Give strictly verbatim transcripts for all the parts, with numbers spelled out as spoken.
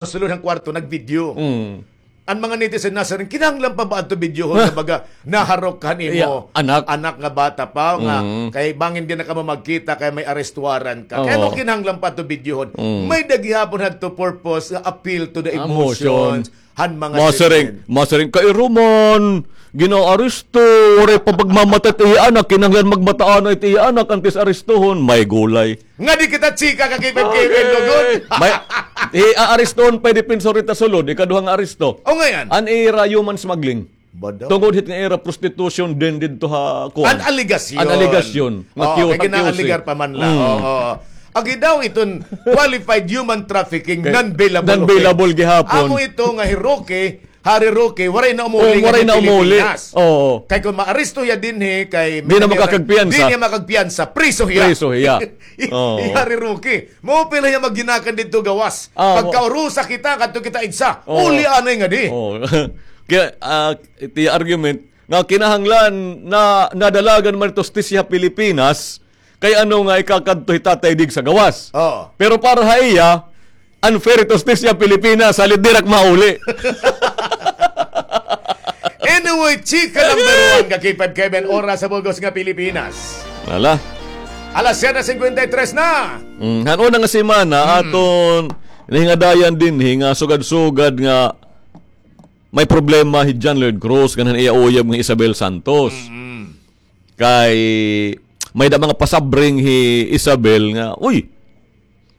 sulod han kwarto, nag-video. Mm. An mga netizen nasiring, kinahanglan pa ba adto videohon nga baga naharok han imo anak nga bata pa, nga kay bangin diri na kamo magkita kay may arrest warrant ka. Kay ano kinahanglan pa adto videohon? May-ada gihapon hadto purpose nga appeal to the emotions han mga citizen. Masiring, masiring, kay ira man, ginaaresto, waray pa pagmamatay it iya anak, kinahanglan magmata anay it iya anak antes arestohon, may gulay. Ngadi kita chika ka K five K N, lugod. May, aarestohon pa it depensor hit ha sulod, ikaduha nga aresto. O, ngay-an? An ira human smuggling. Tungod hit nga ira prostitution den didto ha kuan. An alegasyon. An alegasyon. Nga cute, kay gina-alegar pa man la. Oo. Agi daw iton qualified human trafficking, non-bailable. Non-bailable gihapon. Amo ito nga hi Roque, Harry Roque, waray na umuli. Waray na umuli. Oo. Kay kon maaresto hiya dinhi, kay diri na makakagpiyansa. Diri na makagpiyansa, priso hiya. Priso hiya. Oo. Harry Roque, maupay la hiya maghinakan didto gawas. Pagkaurusa kita, kadto kita igsa. Uli anay ngadi. Oo. Kay, ah, it iya argument, nga kinahanglan na nadalagan man it hustisya ha Pilipinas, kay ano nga ikakadto hi Tatay Diggs ha gawas. Oo. Pero para ha iya, unfair it hustisya ha Pilipinas, salit diri ak mauli. Anyway, chika number one ka K five Kevin, oras sa bug-os nga Pilipinas. Wala. Alas siyete singkwenta y tres na. Mm, han una nga semana, aton nahingadayan dinhi nga sugad-sugad nga may problema hi John Lloyd Cruz ngan han iya uyab nga Isabel Santos. Mm. Kay may-ada mga pasabring hi Isabel nga, "Uy,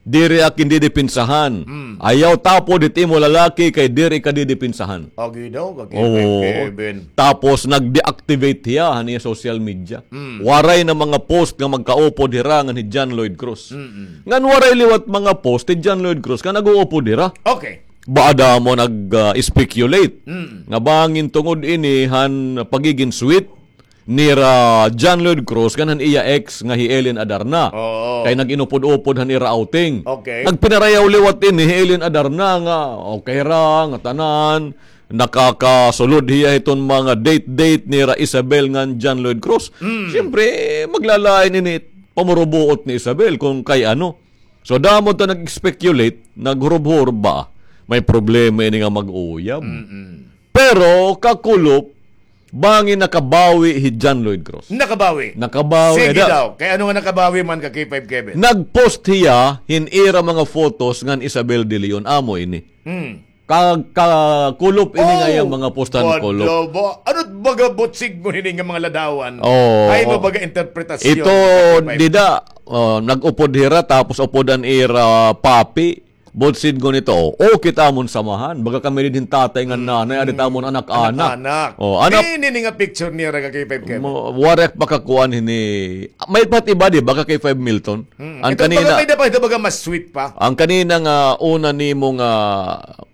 diri ak didipinsahan. Mm. Ayaw tapod it imo lalaki kay diri ka didipinsahan." Agi daw, agi, oo. Tapos nag-deactivate hiya han iya social media. Mm. Waray na mga post nga magkaupod hira ngan hi John Lloyd Cruz. Mm-mm. Ngan waray liwat mga post hi John Lloyd Cruz nga nag-uupod hira. Okay. Baada mo nag, ah, speculate nga bangin tungod ini han pagigin sweet nira John Lloyd Cruz ngan han iya ex nga hi Ellen Adarna. Oo. Kay nag-inupod-upod han ira outing. Okay. Nagpinarayaw liwat ini hi Ellen Adarna nga okay ra, nga tanan, nakakasulod hiya hiton mga date-date nira Isabel ngan John Lloyd Cruz. Mm. Siyempre, maglalain ini pamurubuot ni Isabel kung kay ano. So, damo ta nag-speculate, naghurubhurub ba? May problema ini nga mag-uyab. Mm-mm. Pero, kakulop, bangin nakabawi hi John Lloyd Cruz. Nakabawi. Nakabawi. Sige daw. Kay ano nga nakabawi man ka K five Kevin? Nag-post hiya hin ira mga photos ngan Isabel de Leon. Amo ini. Mm. Ka-, kakulop ini nga iya mga post han kulop. Ano baga butsig mo hini nga mga ladawan? Oo. Ay mo baga interpretasyon. Ito, dida, oh, nag-upod hira, tapos upod an ira papi. Butsig mo nito, oh, kita amon samahan. Baga kami dinhi hin tatay ngan nanay, adi it amon anak-anak. Anak-anak. Oh, anak. Di, ini nga picture niya, raga kay Five Kevin. Waray ak makakuan hini. May pat iba, di, baga kay Five Milton. Mm. Ang kanina, may da pa, ito baga mas sweet pa. Ang kanina nga una nimo nga,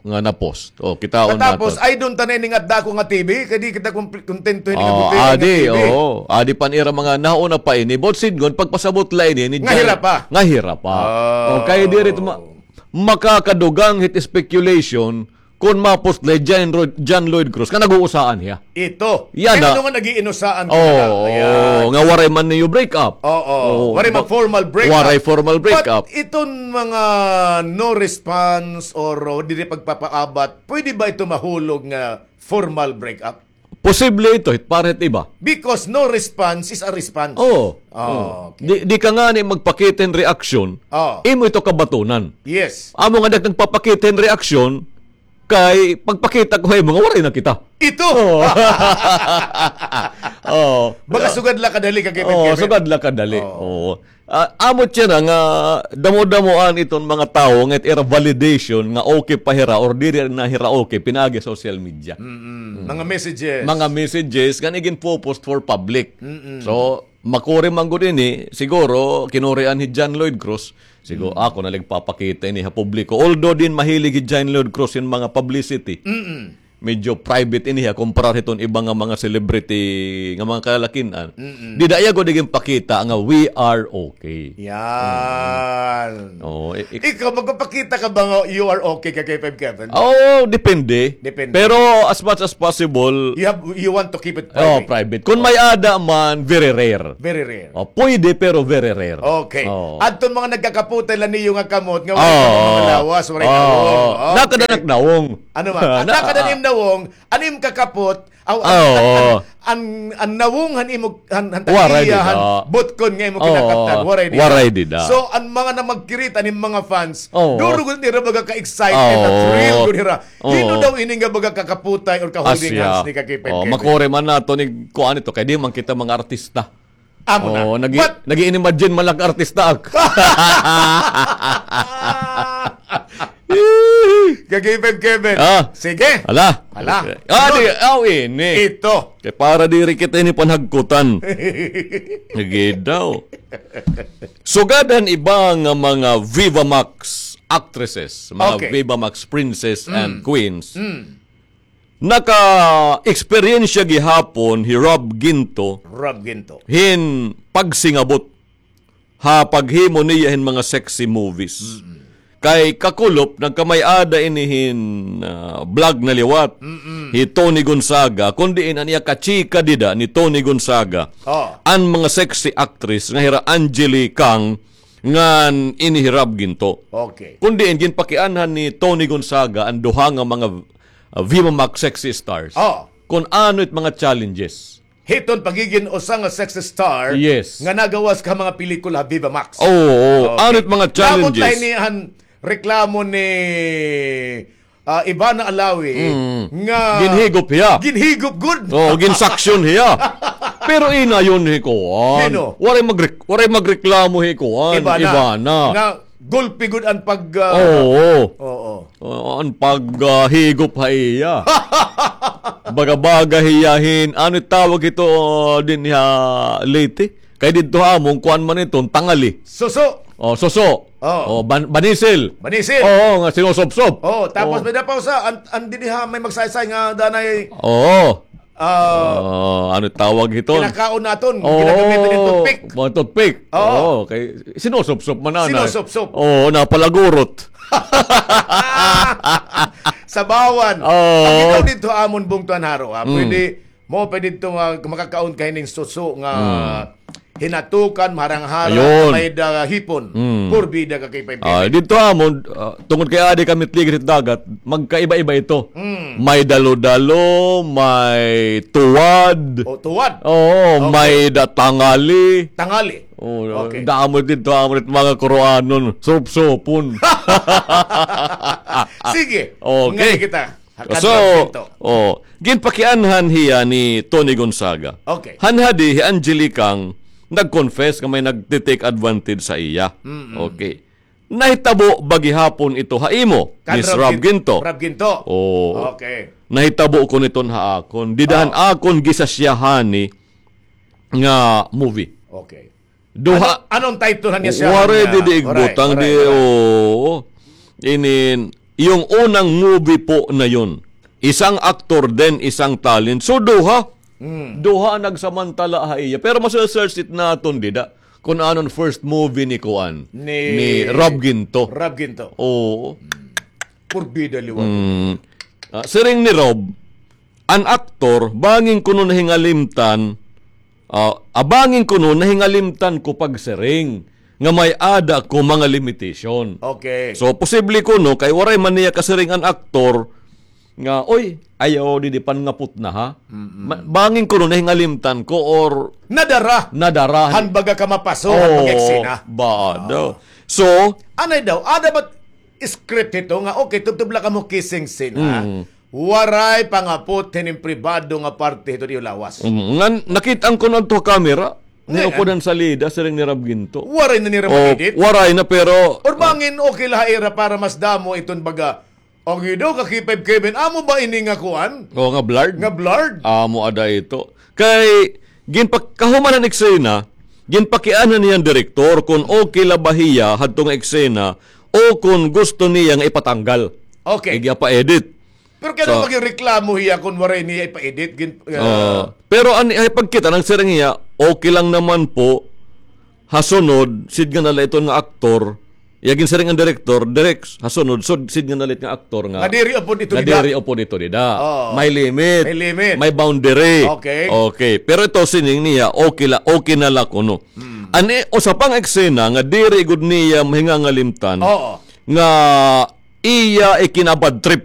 nga na-post. O, kitaon naton. Tapos, ay, doon ta na ini nga dako nga T V, kay di kita kumpli-, kontento ini nga buti nga T V. Oo, adi pa an ira mga nauna pa ini. Buot sidngon, pagpasabot la ini, ni Jan-, nga hira pa. Nga hira pa. O, kay diri ito ma-, makakadugang hit speculation, kon ma-post la hi John Lloyd, John Lloyd Cruz, nga nag-uusaan hiya. Ito. Yana. Kay ano nga nag-iinusaan ka na? Oo, nga waray man niyo break up. Oo, waray man formal break up. Waray formal break up. But iton mga no response or, o, diri pagpapaabat, pwede ba ito mahulog nga formal break up? Posible ito, hit para hit iba. Because no response is a response. Oo. Okay. Di, di ka ngani magpakita hin reaksyon, imo ito kabatunan. Yes. Amo nga di ka nagpapakita hin reaksyon, kay pagpakita ko ha imo nga waray na kita. Ito! Oo. Oo. Baga sugad la kadali ka, Kevin. Oo, sugad la kadali. Oo. Ah, amo siya na nga damo-damoan iton mga tawo nga it ira validation nga okay pa hira or diri na hira okay pinaagi ha social media. Mm-mm. Mga messages. Mga messages nga igin-post for public. Mm-mm. So, makuri man gud ini, siguro, kinurian hi John Lloyd Cruz, siguro, ako na lang papakita ini ha publiko. Although, din mahilig hi John Lloyd Cruz hin mga publicity. Mm-mm. medyo private ini ha, kumparar hiton iba nga mga celebrity nga mga kalalakin-an. Mm-mm. Dida iya gud ginpakita nga we are okay. Yan. Oh, i- i- Ikaw, magpapakita ka ba nga you are okay ka kay Five Kevin? Oh, depende. Depende. Pero as much as possible, You have, you want to keep it oh, private. Private. Kun may-ada man, very rare. Very rare. Oh, pwede, pero very rare. Okay. Oh. Adton mga nagkakaputay la niyo nga kamot nga waray pa mga lawas, waray nawong. Okay. Nakada na nawong. Ano man? At nakada na im nawong, an im kakapot, aw, an, an, an, an nawong han imo, han, han tagiya, han butkon nga imo kinakaptan, waray dida. Waray dida. So, an mga namagkirit, an im mga fans, duro gud nira baga ka-excited, na-thrill gud nira. Hin-o daw ini nga baga kakaputay or ka-holding hands ni Kakipay Kevin? Makuri man naton ni kuan ito, kay di man kita mga artista. Amo na. Oh, nag-i-, nag-i-imagine man lang artista ak. Kakipay Kevin. Ah. Sige. Ala. Ala. Ah, di, aw, ini. Ito. Kay para diri kita ini panhagkutan. Sige daw. Sugad han iba nga mga Viva Max actresses, mga Viva Max princess and queens. Naka-eksperyensya gihapon hi Rob Ginto hin pagsingabot ha paghimo niya hin mga sexy movies. Kay kakulop, nagkamay-ada ini hin, ah, vlog na liwat hi Toni Gonzaga, kun diin an iya kachika dida ni Toni Gonzaga, an mga sexy actress nga hira Angeli Kang ngan ini hi Rob Ginto. Okay. Kun diin ginpakianhan ni Toni Gonzaga an duha nga mga, ah, Viva Max sexy stars. Oh. Kun ano it mga challenges. Hiton pagigin usa nga sexy star nga nagawas ka mga pelikula ha Viva Max. Oo, oo. Okay. Ano it mga challenges? Labot la ini an reklamo ni, ah, Ivana Alawi nga ginhigop hiya. Ginhigop gud. Oo, ginsaksyon hiya. Pero inayon hi kuan. Sino? Waray magre-, waray magreklamo hi kuan, Ivana. Ivana. Nga gulpi gud an pag, ah, oo. Oo. Oo, an pag, ah, higop ha iya. Baga-baga hiya hin, ano tawag ito, ah, dinhi ha Leyte? Kay didto ha amon, kuan man iton, tangali. Suso. Oh, suso. Oh. Oh, ban-, banisil. Banisil. Oo, nga sinusupsop. Oh, tapos may daw pa usa, an, an dinhi ha, may magsaysay nga danay. Oo. Ah, oh, ano tawag hiton? Kinakaon naton, oo, ginagamitan hin toothpick. Mga toothpick. Oo. Oo, kay sinusupsop man ana. Sinusupsop. Oo, napalagurot. Sabawan. Oo. Ang ikaw didto amon bungtuan haro, ha? Mm. Pwede mo pa didto nga makakaon ka hining suso nga hinatukan, maharang-harang, ayun, may da hipon. Mm. Porbida ka kay Pay Pay. Ah, didto amon, ah, tungod kay adi kami it ligid hit dagat, magkaiba-iba ito. Mm. May dalo-dalo, may tuwad. O, tuwad. Oo, okay, may da tangali. Tangali. Oo, okay. Damo didto, amo it mga kuruanon, supsupon. Sige. Okay. Ngani kita. So, oh, ginpakianhan hiya ni Toni Gonzaga. Okay. Han hadi hi Angeli Kang nag-confess nga may nagti-take advantage sa iya. Mm-mm. Okay. Nahitabo ba gihapon ito ha imo, Miss Rob Ginto? Rob Ginto. Oo. Okay. Nahitabo kuno iton ha akon. Dida han akon gisasyahan ni nga movie. Okay. Duha. Ano, anong title niya siya? Waray didi igbutang di, oo. Inin, yung unang movie po na yun. Isang aktor din, isang talent. So, duha. Hmm. Duha nagsamantala ha iya. Pero masa-search it naton dida. Kung anon first movie ni kuan, ni Rob Ginto. Rob Ginto. Oo. Hmm. Porbida liwat. Hmm. Ah, siring ni Rob, an aktor, bangin kuno nahingalimtan, ah, ah, bangin kuno nahingalimtan ko pagsiring nga may-ada ko mga limitation. Okay. So, posible kuno, kay waray man niya kasiring an aktor nga, "Oy, ayaw didi, pangapot na, ha?" Mm-mm. Ma-, bangin kuno nahingalimtan ko or nadara. Nadara. Han baga ka mapaso, han baga eksena. Bado. So, anay daw, ada ba script hito nga, okay, tubtob la kamo kissing scene, ha? Mm. Waray pangapot hinin pribado nga parte hito niyo lawas. Mm. Ngan, nakit-an ko na adto ha camera. Ni upod han salida, siring ni Rob Ginto. Waray na nira ma-edit? Waray na, pero or bangin, okay la ha ira para mas damo iton baga. Ang ido, ka K five Kevin, amo ba ini nga kuan? O, nga blurred? Nga blurred? Amo ada ito. Kay, ginpakahuman han eksena, ginpakianhan niya an direktor kon okay la ba hiya hadto nga eksena o kon gusto niya nga ipatanggal. Okay. Igya pa-edit. Pero kay ano maging reklamo hiya kun waray niya ipa-edit? Gin-, ah, oo. Pero an, ay pagkita, nagsiring hiya, okay lang naman po, ha sunod, sid nga nala iton nga aktor, iya ginsiring an direktor, Direk, ha sunod, sud, sid nga nalit nga aktor nga, nga diri upod ito dida. Diri upod ito dida. Oo. May limit. May limit. May boundary. Okay. Okay. Pero ito sining niya, okay la, okay na la kuno. Hmm. An, eh, usa pa nga eksena nga diri gud niya mahingangalimtan. Oo. Nga iya ikinabad trip.